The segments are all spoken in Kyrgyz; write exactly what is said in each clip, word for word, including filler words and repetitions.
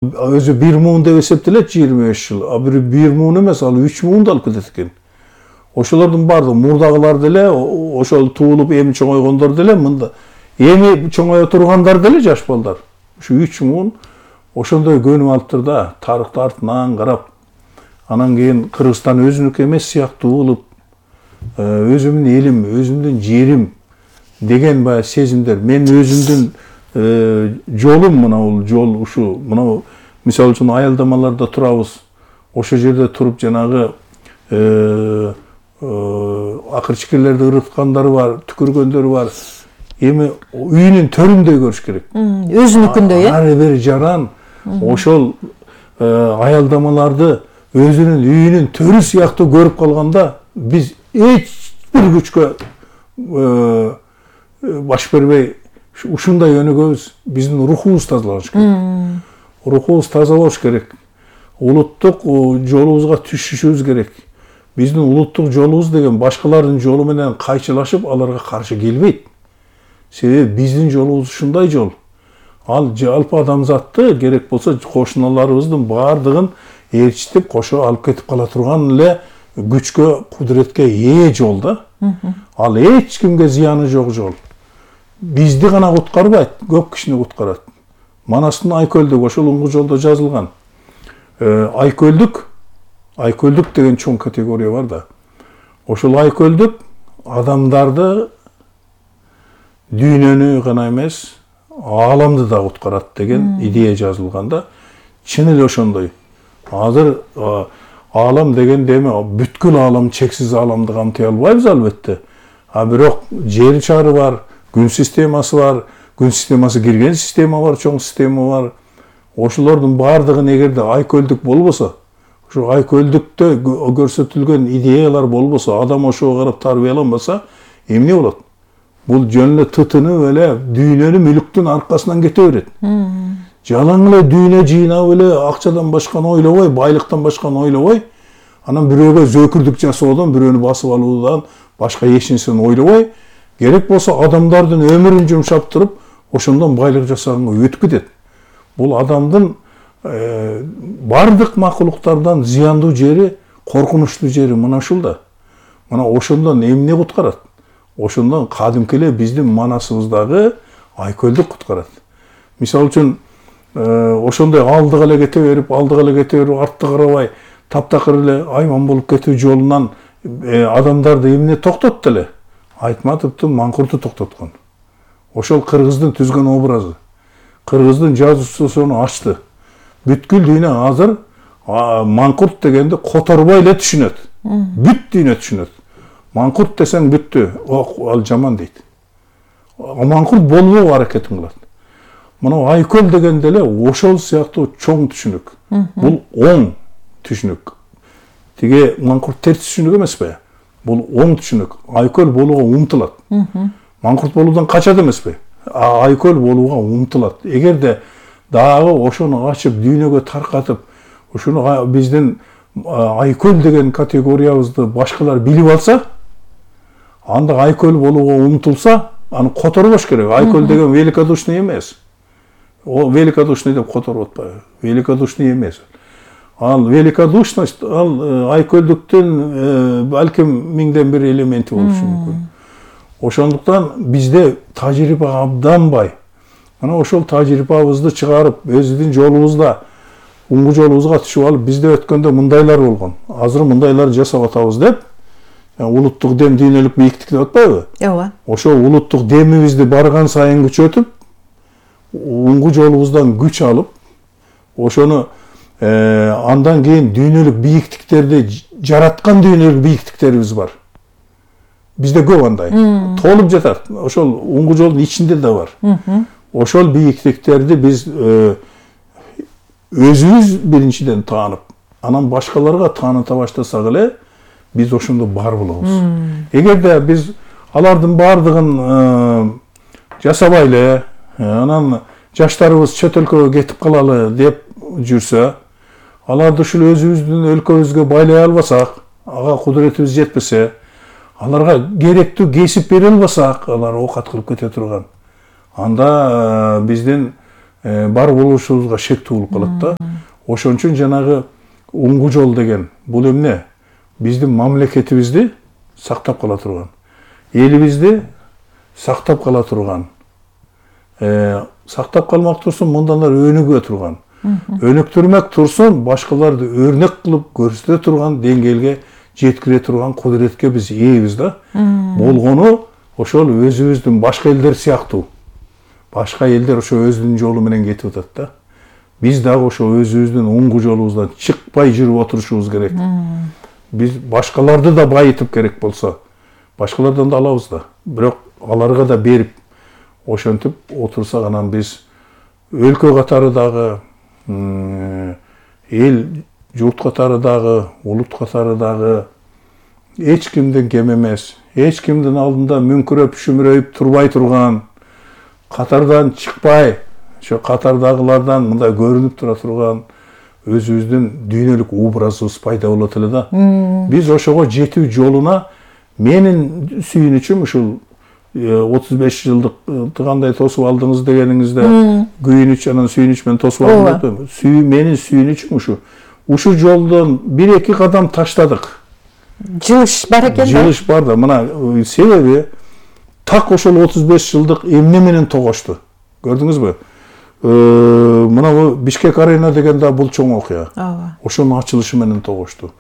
Өзү бир муун деп эсептелет жыйырма беш жыл, а бир бир муун эмес, ал үч муунду алып кетет экен. Ошолордун баардыгы мурдагылар деле, ошол туулуп эми чоңойгондор деле, мында эми чоңое тургандар деле жаш балдар. Ушу үч муун ошондой көнүп алыптыр да, тарыхты артынан карап. Анан кийин Кыргызстан өзүнүкү эмес сыяктуу болуп, өзүмдүн элим, өзүмдүн жерим деген баягы сезимдер. Мен өзүмдүн жолум мына бул жол ушу, мына мисалы үчүн аялдамаларда турабыз. Ошол жерде туруп жанагы акырчыкелерди ырыткандары бар, түкүргөндөрү бар. Эми үйүнүн төрүндөй көрүш керек. Өзүнүкүндөй, э? Ары бери жаран ошол аялдамаларды өзүнүн үйүнүн төрү сыяктуу көрүп калганда, биз эч бир күчкө баш бербей ушундай өнүгөбүз. Биздин рухубуз тазаланыш керек. Рухубуз таза болуш керек. Улуттук жолубузга түшүшүбүз керек. Биздин улуттук жолубуз деген башкалардын жолу менен кайчылашып, аларга каршы келбейт. Себеби биздин жолубуз ушундай жол. Ал жалпы адамзатты керек болсо кошуналарыбыздын баардыгын ээрчитип, кошо алып кетип кала турган эле күчкө, кудуретке ээ жол да. Ал эч кимге зыяны жок жол. Бизди гана куткарбайт, көп кишини куткарат. Манастын Айкөлдүк ошол уңгу жолдо жазылган. Айкөлдүк, Айкөлдүк деген чоң категория бар да. Ошол Айкөлдүк адамдарды дүйнөнү гана эмес, ааламды да куткарат деген идея жазылганда, чын эле ошондой. Азыр аалам дегенде эми бүткүл аалам, чексиз ааламды камтый албайбыз албетте. А бирок жер шары бар, күн системасы бар, күн системасы кирген система бар, чоң система бар. Ошолордун баардыгын эгерде Айкөлдүк болбосо, ошо Айкөлдүктө көрсөтүлгөн идеялар болбосо, адам ошого карап тарбияланбаса, эмне болот? Бул жөн эле тытынып эле дүйнөнү мүлүктүн аркасынан кете берет. Жалаң эле дүйнө жыйнап эле акчадан башканы ойлобой, байлыктан башканы ойлобой, анан бирөөгө зөөкүрдүк жасоодон, бирөөнү басып алуудан башка эч нерсени ойлобой, керек болсо адамдардын өмүрүн жумшап туруп, ошондон байлык жасаганга өтүп кетет. Бул адамдын бардык макулуктардан зыяндуу жери, коркунучтуу жери мына ушул да. Мына ошондон эмне куткарат? Ошондон кадимки эле биздин манасыбыздагы Айкөлдүк куткарат. Мисалы үчүн ошондой алдыга эле кете берип, алдыга эле кете берип, артты карабай, таптакыр эле айман болуп кетүү жолунан адамдарды эмне токтотду эле? Айтматовдун Маңкурту токтоткон. Ошол кыргыздын түзгөн образы. Кыргыздын жазуучусу аны ачты. Бүткүл дүйнө азыр Маңкурт дегенди которбой эле түшүнөт. Бүт дүйнө түшүнөт. Маңкурт десең бүттү, ал жаман дейт. Маңкурт болбогу аракетин кылат. Мына Айкөл дегенде эле ошол сыяктуу чоң түшүнүк. Бул оң түшүнүк. Тиге Маңкурт терс түшүнүк эмеспи? Бул оң түшүнүк. Айкөл болууга умтулат. Маңкурт болуудан качат эмеспи? Айкөл болууга умтулат. Эгерде дагы ошону ачып, дүйнөгө таркатып, ушуну биздин Айкөл деген категориябызды башкалар билип алса, анда Айкөл болууга умтулса, аны которбош керек. Айкөл деген великодушный эмес. О, великодушный деп которуп атпайбы? Великодушный эмес. Ал великодушность, ал Айкөлдүктүн балким миңден бир элементи болушу мүмкүн. Ошондуктан бизде тажрыйба абдан бай. Мына ошол тажрыйбабызды чыгарып, өзүбүздүн жолубузда, уңгу жолубузга түшүп алып, бизде өткөндө мындайлар болгон. Азыр мындайлар жасап атабыз деп, улуттук дем дүйнөлүк бийиктик деп атпайбы? Ооба. Ошол улуттук демибизди барган сайын күчөтүп, уңгу жолубуздан күч алып, ошону андан кийин дүйнөлүк бийиктиктерди жараткан дүйнөлүк бийиктиктерибиз бар. Бизде көп андай. Толуп жатат. Ошол уңгу жолдун ичинде да бар. Ошол бийиктиктерди биз өзүбүз биринчиден таанып, анан башкаларга тааныта баштасак эле, биз ошондо бар болобуз. Эгерде биз алардын баардыгын жасабай эле, анан жаштарыбыз чөт өлкөгө кетип калалы деп жүрсө, аларды ушул өзүбүздүн өлкөбүзгө байлай албасак, ага кудуретибиз жетпесе, аларга керектүү кесип бере албасак, алар оокат кылып кете турган. Анда биздин бар болушубузга шектүү болуп калат да. Ошон үчүн жанагы уңгу жол деген бул эмне? Биздин мамлекетибизди сактап кала турган, элибизди сактап кала турган, сактап калмак турсун, мындандар өнүгө турган, өнүктүрмөк турсун, башкаларды өрнөк кылып көрсөтө турган деңгээлге жеткире турган кудуретке биз ээбиз да. Болгону ошол өзүбүздүн башка элдер сыяктуу. Башка элдер ошо өзүнүн жолу менен кетип атат да. Биз дагы ошо өзүбүздүн уңгу жолубуздан чыкпай жүрүп отурушубуз керек. Биз башкаларды да байытып керек болсо, башкалардан да алабыз да. Бирок аларга да берип, ошентип отурсак анан биз өлкө катары дагы, эл журт катары дагы, улут катары дагы эч кимден кем эмес, эч кимдин алдында мүңкүрөп, шүмүрөйүп турбай турган, катардан чыкпай, ошо катардагылардан мындай көрүнүп тура турган өзүбүздүн дүйнөлүк образыбыз пайда болот эле да. Биз ошого жетүү жолуна менин сүйүнүчүм ушул отуз беш жылдык кандай тосуп алдыңыз дегениңизде күйүнүч анан сүйүнүч менен тосуп алдым. Сүйүү менин сүйүнүчүм ушу. Ушу жолдон бир эки кадам таштадык. Жылыш бар экен да. Жылыш бар да. Мына себеби так ошол отуз беш жылдык эмне менен тогошту. Көрдүңүзбү? Мына Бишкек арена деген да бул чоң окуя. Ошонун ачылышы менен тогошту.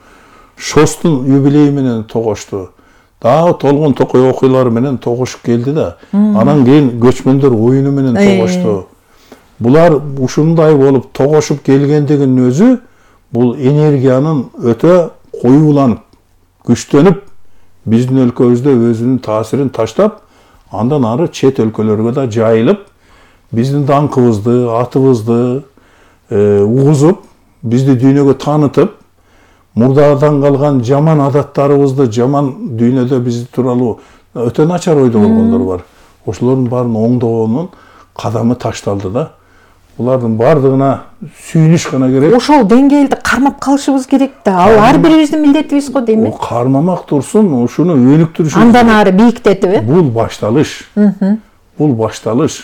ШОСтун юбилейи менен тогошту. Дагы толгон токой окуялары менен тогошуп келди да. Анан кийин көчмөндөр оюну менен тогошту. Булар ушундай болуп тогошуп келгендигинин өзү бул энергиянын өтө коюуланып, күчтөнүп, биздин өлкөбүздө өзүнүн таасирин таштап, андан ары чет өлкөлөргө да жайылып, биздин даңкыбызды, атыбызды угузуп, бизди дүйнөгө таанытып, мурдадан калган жаман адаттарыбызды, жаман дүйнөдө биз тууралуу өтө начар ойдо болгондор бар. Ошолордун баарын оңдоонун кадамы ташталды да. Булардын бардыгына сүйүнүш гана керек. Ошол деңгээлди кармап калышыбыз керек да. Ал ар бирибиздин милдетибиз го дейм. Кармамак турсун, ушуну өнүктүрүшүбүз. Андан ары бийиктетип, э? Бул башталыш. Бул башталыш.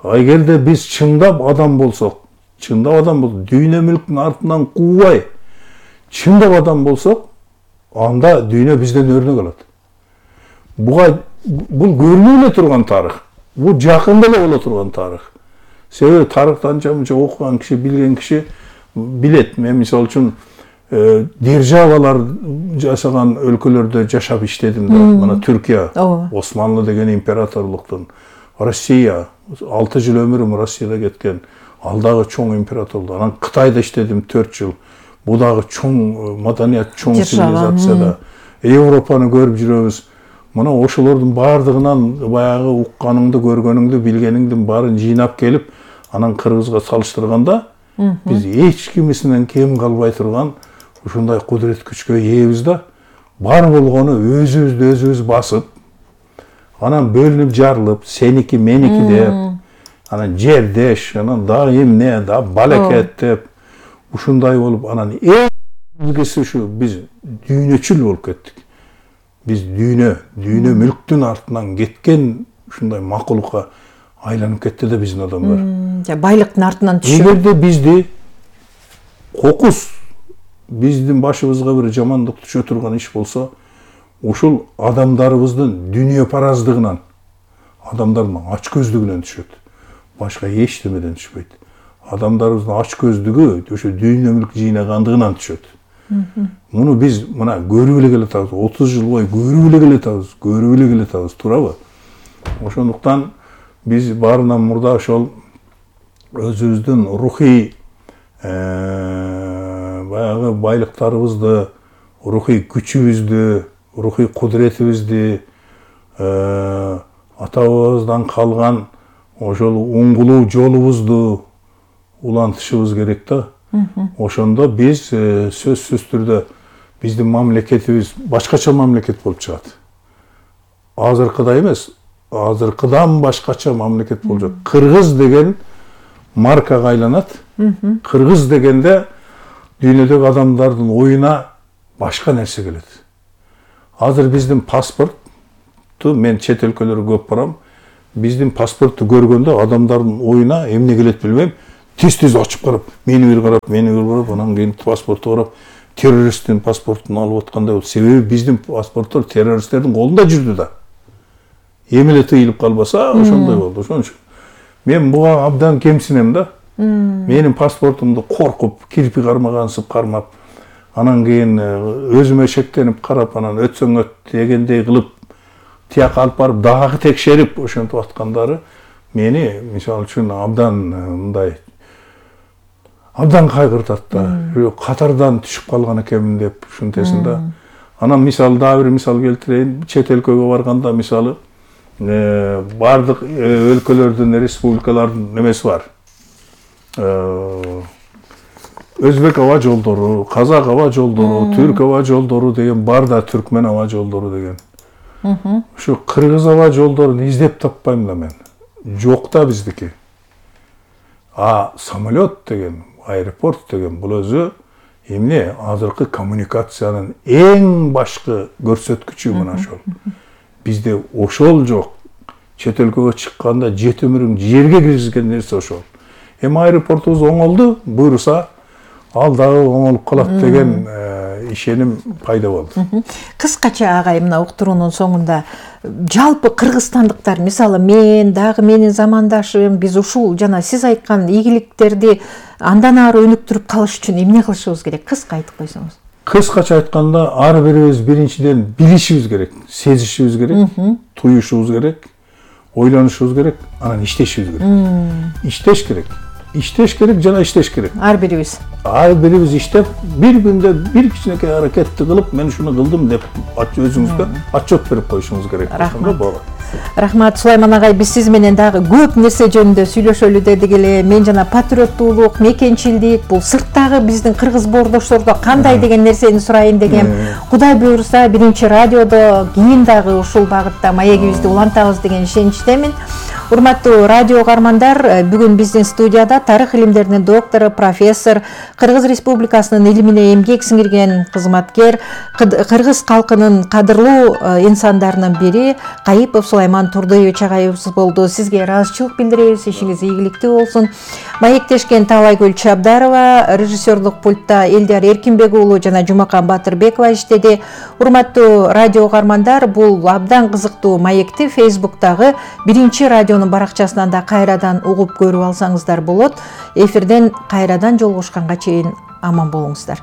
Эгерде биз чындап адам болсок, чындап адам болсок, дүйнө мүлктүн артынан куубай, чындап адам болсок, анда дүйнө бизден өрнөк алат. Буга бул көрүнүп эле турган тарых. Бул жакында эле боло турган тарых. Себеби тарыхты анча-мынча окуган киши, билген киши билет. Мен мисалы үчүн державалар жашаган өлкөлөрдө жашап иштедим да. Мына Түркия, Османлы деген императорлуктун, Россия, алты жыл өмүрүм Россияда кеткен, ал дагы чоң императорлук. Анан Кытайда иштедим төрт жыл. Бул дагы чоң маданият, чоң цивилизацияда. Европаны көрүп жүрөбүз. Мына ошолордун бардыгынан баягы укканыңды, көргөнүңдү, билгениңдин баарын жыйнап келип, анан Кыргызга салыштырганда, биз эч кимисинен кем калбай турган ушундай кудурет күчкө ээбиз да. Бар болгону өзүбүздү өзүбүз басып, анан бөлүнүп жарылып, сеники, меники деп, анан жердеш, анан дагы эмне, да балекет деп, ушундай болуп, анан эң илгиси ушу биз дүйнөчүл болуп кеттик. Биз дүйнө, дүйнө мүлктүн артынан кеткен ушундай макулукка айланып кетти да биздин адамдар. Байлыктын артынан түшүп. Эгерде бизди кокус биздин башыбызга бир жамандык түшө турган иш болсо, ушул адамдарыбыздын дүйнө параздыгынан, адамдардын ач көздүгүнөн түшөт. Башка эчтемеден түшпөйт. Адамдарыбыздын ач көздүгү ошо дүйнө мүлк жыйнагандыгынан түшөт. Муну биз мына көрүп эле келатабыз. отуз жыл бою көрүп эле келатабыз, көрүп эле келатабыз, туурабы? Ошондуктан биз баарынан мурда ошол өзүбүздүн рухий баягы байлыктарыбызды, рухий күчүбүздү, рухий кудуретибизди, ата-бабабыздан калган ошол уңгулуу жолубузду улантышыбыз керек да. Ошондо биз сөзсүз түрдө биздин мамлекетибиз башкача мамлекет болуп чыгат. Азыркыдай эмес, азыркыдан башкача мамлекет болуп чыгат. Кыргыз деген маркага айланат. Кыргыз дегенде дүйнөдөгү адамдардын оюна башка нерсе келет. Азыр биздин паспортту мен чет өлкөлөргө көп барам. биздин паспортту көргөндө адамдардын оюна эмне келет билбейм, тез-тез ачып карап, мени бир карап, мени бир карап, анан кийин паспортту карап, террористтин паспортун алып аткандай болду. Себеби биздин паспорттор террористтердин колунда жүрдү да. Эми эле тыйылып калбаса, ошондой болду. Ошон үчүн мен буга абдан кемсинем да. Менин паспортумду коркуп, кирпи кармагансып кармап, анан кийин өзүмө шектенип карап, анан өтсөң өт дегендей кылып, тияка алып барып дагы текшерип ошентип аткандары мени мисалы үчүн абдан мындай абдан кайгыртат да. Катардан түшүп калган экенмин деп ушинтесин да. Анан мисалы дагы бир мисал келтирейин. Чет өлкөгө барганда мисалы бардык өлкөлөрдүн, республикалардын немеси бар. Өзбек аба жолдору, казак аба жолдору, түрк аба жолдору деген бар да, түркмен аба жолдору деген. Ушу кыргыз аба жолдорун издеп таппайм да мен. Жок да биздики. А самолет деген, аэропорт деген бул өзү эмне азыркы коммуникациянын эң башкы көрсөткүчү мына ошол. Бизде ошол жок. Чет өлкөгө чыкканда жет өмүрүң жерге киргизген нерсе ошол. Эми аэропортубуз оңолду, буйруса ал дагы оңолуп калат деген ишеним пайда болду. Кыскача агай, мына уктуруунун соңунда жалпы кыргызстандыктар, мисалы мен дагы менин замандашым, биз ушул жана сиз айткан ийгиликтерди андан ары өнүктүрүп калыш үчүн эмне кылышыбыз керек? Кыска айтып койсоңуз. Кыскача айтканда, ар бирибиз биринчиден билишибиз керек, сезишибиз керек, туюшубуз керек, ойлонушубуз керек, анан иштешибиз керек. Иштеш керек. Иштеш керек жана иштеш керек. Ар бирибиз. Ар бирибиз иштеп, бир күндө бир кичинекей аракетти кылып, мен ушуну кылдым деп өзүңүзгө отчет берип коюшуңуз керек. Ошондо болот. Рахмат, Сулайман агай, биз сиз менен дагы көп нерсе жөнүндө сүйлөшөлү дедик эле. Мен жана патриоттуулук, мекенчилдик, бул сырттагы биздин кыргыз боордоштордо кандай деген нерсени сурайын дегем. Кудай буйруса, биринчи радиодо кийин дагы ушул багытта маегибизди улантабыз деген ишеничтемин. Урматтуу радио угармандар, бүгүн биздин студияда тарых илимдеринин доктору, профессор, Кыргыз Республикасынын илимине эмгек сиңирген кызматкер, кыргыз калкынын кадырлуу инсандарынын бири Кайыпов Сулайман Турдуевич агайыбыз болду. Сизге ыраазычылык билдиребиз, ишиңиз ийгиликтүү болсун. Маектешкен Таалайгүл Чабдарова, режиссерлук пультта Элдияр Эркинбек уулу жана Жумакан Батырбекова иштеди. Урматтуу радио угармандар, бул абдан кызыктуу маекти Фейсбуктагы биринчи радионун баракчасынан да кайрадан угуп көрүп алсаңыздар болот. Эфирден кайрадан жолугушканга чейин аман болуңуздар.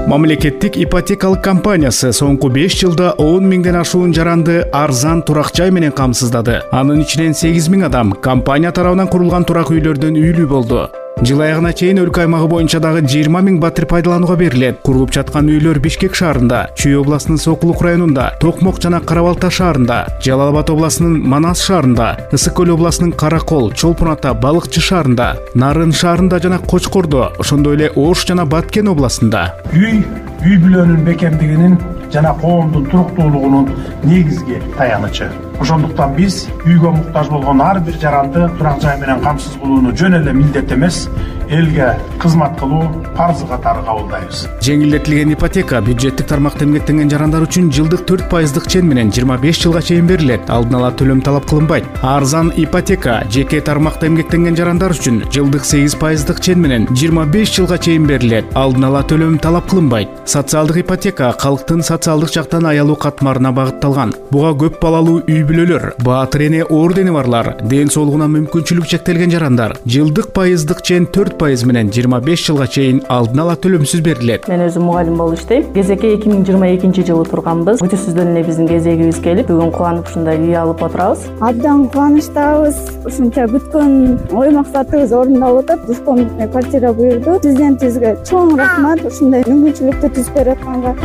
Мамлекеттик ипотекалык компаниясы соңку беш жылда он миңден ашуун жаранды арзан турак жай менен камсыздады. Анын ичинен сегиз миң адам компания тарабынан курулган турак үйлөрдөн үйлүү болду. Жыл аягына чейин өлкө аймагы боюнча дагы жыйырма миң батир пайдаланууга берилет. Курулуп жаткан үйлөр Бишкек шаарында, Чүй областынын Сокулук районунда, Токмок жана Карабалта шаарында, Жалал Абад областынын Манас шаарында, Ысык Көл областынын Каракол, Чолпун Ата, Балыкчы шаарында, Нарын шаарында жана Кочкордо, ошондой эле Ош жана Баткен областында. Үй үй бүлөнүн бекемдигинин жана коомдун туруктуулугунун негизги таянычы. Ошондуктан биз үйгө муктаж болгон ар бир жаранды турак жай менен камсыз кылууну жөн эле милдет эмес, элге кызмат кылуу парзы катары кабылдайбыз. Жеңилдетилген ипотека бюджеттик тармакта эмгектенген жарандар үчүн жылдык төрт пайыздык чен менен жыйырма беш жылга чейин берилет. Алдын ала төлөм талап кылынбайт. Арзан ипотека жеке тармакта эмгектенген жарандар үчүн жылдык сегиз пайыздык чен менен жыйырма беш жылга чейин берилет. Алдын ала төлөм талап кылынбайт. Социалдык ипотека калктын социалдык жактан аялуу катмарына багытталган. Буга көп балалуу үй бүлөлөр, баатыр эне ордени барлар, ден соолугуна мүмкүнчүлүгү чектелген жарандар жылдык пайыздык чен төрт пайыз менен жыйырма беш жылга чейин алдын ала төлөмсүз берилет. Мен өзүм мугалим болуп иштейм. Кезекке эки миң жыйырма экинчи жылы турганбыз. Күтүүсүздөн эле биздин кезегибиз келип, бүгүн кубанып ушундай үй алып отурабыз. Абдан кубанычтабыз. Ушунча күткөн ой максатыбыз орундалып атат. Душком квартира буйрду. Президентибизге чоң рахмат ушундай мүмкүнчүлүктү түзүп берип атканга.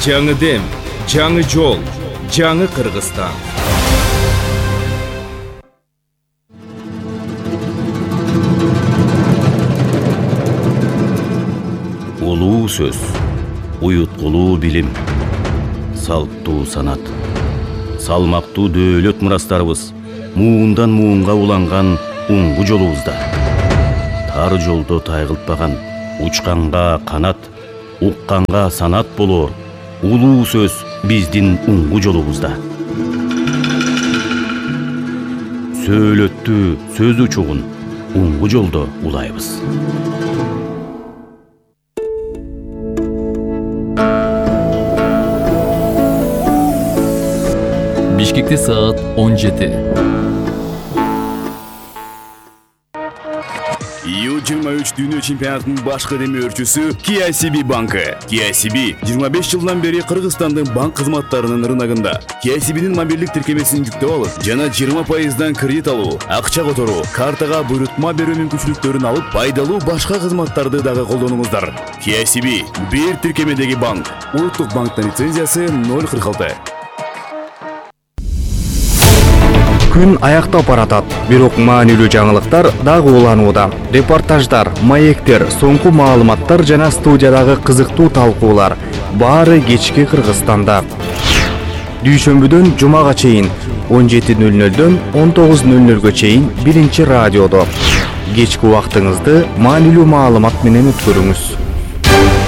Жаңы дем, жаңы жол, жаңы Кыргызстан. Улуу сөз, уюткулуу билим, салттуу санат, салмактуу дөөлөт мурастарыбыз, муундан муунга уланган уңгу жолубузда. Тар жолдо тайгылтпаган, учканга канат, укканга санат болор. Улуу сөз биздин уңгу жолубузда. Сөйлөттү сөз учугун уңгу жолдо улайбыз. Бишкекте саат он жети. ю жыйырма үч дүйнө чемпионатынын башкы демөөрчүсү K I C B банкы. K I C B жыйырма беш жылдан бери Кыргызстандын банк кызматтарынын рыногунда. K I C B'нин мобилдик тиркемесин жүктөп алып, жана жыйырма пайыздан кредит алуу, акча которуу, картага буйрутма берүү мүмкүнчүлүктөрүн алып, пайдалуу башка кызматтарды дагы колдонуңуздар. K I C B бир тиркемедеги банк. Улуттук банктын лицензиясы ноль кырк алты. Күн аяктап баратат, бирок маанилүү жаңылыктар дагы уланууда. Репортаждар, маектер, соңку маалыматтар жана студиядагы кызыктуу талкуулар баары кечки Кыргызстанда. Дүйшөмбүдөн жумага чейин он жети ноль нолдон он тогуз ноль нолго чейин биринчи радиодо. Кечки убактыңызды маанилүү маалымат менен өткөрүңүз.